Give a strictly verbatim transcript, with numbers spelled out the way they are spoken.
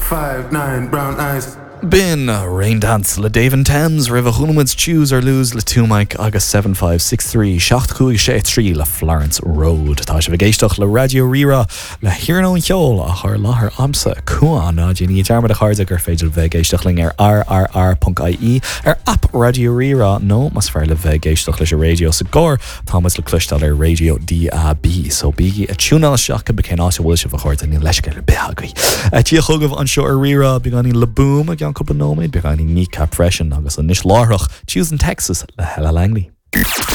five, nine, brown eyes. B'in Raindance le Dave and Thames roimhe chuala muid Choose or Lose le Two Mic agus seven five six three seacht cúig sé trí le Florence Road. Tá sibh ag éisteacht le Raidió Rí-Rá le hiarnóin cheoil á chur i láthair agamsa Cuán ná déanaigí dearmad a chairde gur féidir bheith ag éisteacht linn ar rrr.ie ar app Raidió Rí-Rá nó más fearr libh bheith ag éisteacht leis an raidió sa gcarr táimid le cloisteáil ar raidió DAB so bígí ag tiúnáil isteach cibé cén áit a bhfuil sibh a chairde níl leithscéal ar bith agaibh. Tí chugaibh anseo ar Rí-Rá beagáinín Le Boom i gceann cúpla nóiméad beagáinín Kneecap freisin agus anois láithreach Tuesdays in Texas le Hella Langley.